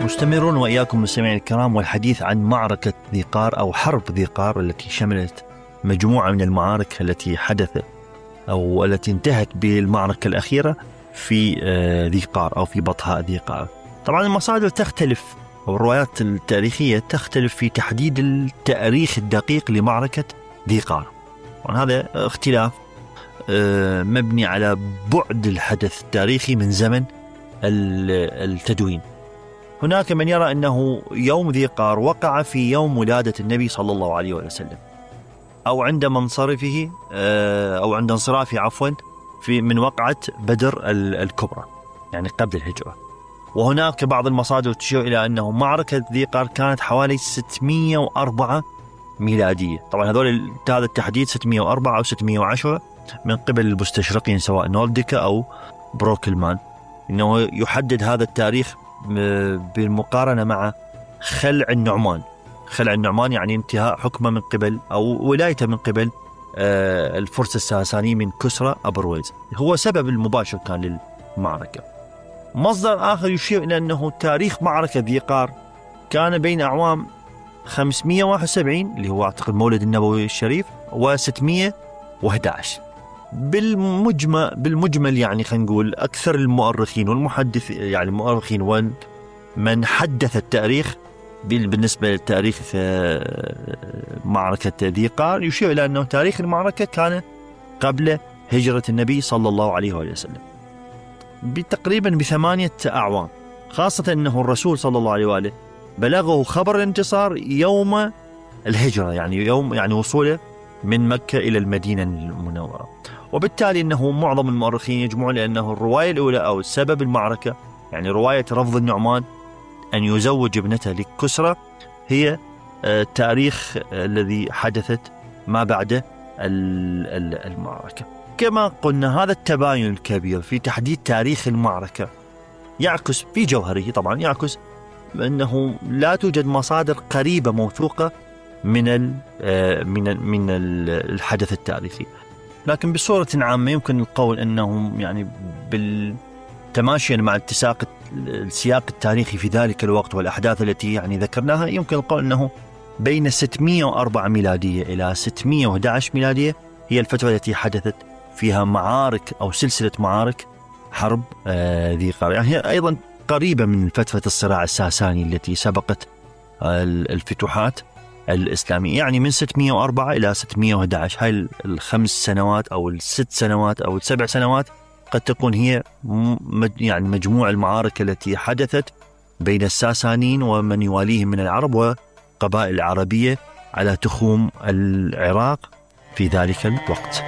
مستمرون وإياكم مستمعين الكرام والحديث عن معركة ذي قار أو حرب ذي قار التي شملت مجموعة من المعارك التي حدثت أو التي انتهت بالمعركة الأخيرة في ذي قار أو في بطحاء ذي قار. طبعا المصادر تختلف أو الروايات التاريخية تختلف في تحديد التاريخ الدقيق لمعركة ذي قار، وهذا اختلاف مبني على بعد الحدث التاريخي من زمن التدوين. هناك من يرى أنه يوم ذي قار وقع في يوم ولادة النبي صلى الله عليه وسلم أو عند منصرفه أو عند انصرافه عفوا من وقعة بدر الكبرى، يعني قبل الهجرة. وهناك بعض المصادر تشير إلى أنه معركة ذي قار كانت حوالي 604 ميلادية. طبعا هذا التحديد 604 أو 610 من قبل المستشرقين سواء نولديكا أو بروكلمان، إنه يحدد هذا التاريخ بالمقارنة مع خلع النعمان. خلع النعمان يعني انتهاء حكمه من قبل أو ولايته من قبل الفرس الساساني من كسرى أبرويز، هو سبب المباشر كان للمعركة. مصدر آخر يشير إلى أنه تاريخ معركة ذي قار كان بين أعوام 571 اللي هو أعتقد مولد النبوي الشريف و611. بالمجمل يعني خلينا نقول أكثر المؤرخين والمحدث يعني المؤرخين ومن حدث التاريخ بالنسبة لتاريخ معركة ذي قار يشير إلى أنه تاريخ المعركة كان قبل هجرة النبي صلى الله عليه وسلم بتقريبا ب8 أعوام، خاصة أنه الرسول صلى الله عليه وآله بلغه خبر الانتصار يوم الهجرة، يعني وصوله من مكة إلى المدينة المنورة. وبالتالي أنه معظم المؤرخين يجمعون لأنه الرواية الأولى أو سبب المعركة يعني رواية رفض النعمان أن يزوج ابنته لكسرى هي التاريخ الذي حدثت ما بعد المعركة. كما قلنا هذا التباين الكبير في تحديد تاريخ المعركة يعكس في جوهره طبعا يعكس أنه لا توجد مصادر قريبة موثوقة من الحدث التاريخي. لكن بصورة عامة يمكن القول أنه يعني بالتماشيا مع السياق التاريخي في ذلك الوقت والأحداث التي يعني ذكرناها يمكن القول أنه بين 604 ميلادية إلى 611 ميلادية هي الفترة التي حدثت فيها معارك أو سلسلة معارك حرب ذي قار، يعني هي أيضا قريبة من فترة الصراع الساساني التي سبقت الفتوحات الإسلامية، يعني من 604 إلى 611. هاي ال5 سنوات أو ال6 سنوات أو ال7 سنوات قد تكون هي يعني مجموع المعارك التي حدثت بين الساسانيين ومن يواليهم من العرب وقبائل العربية على تخوم العراق في ذلك الوقت.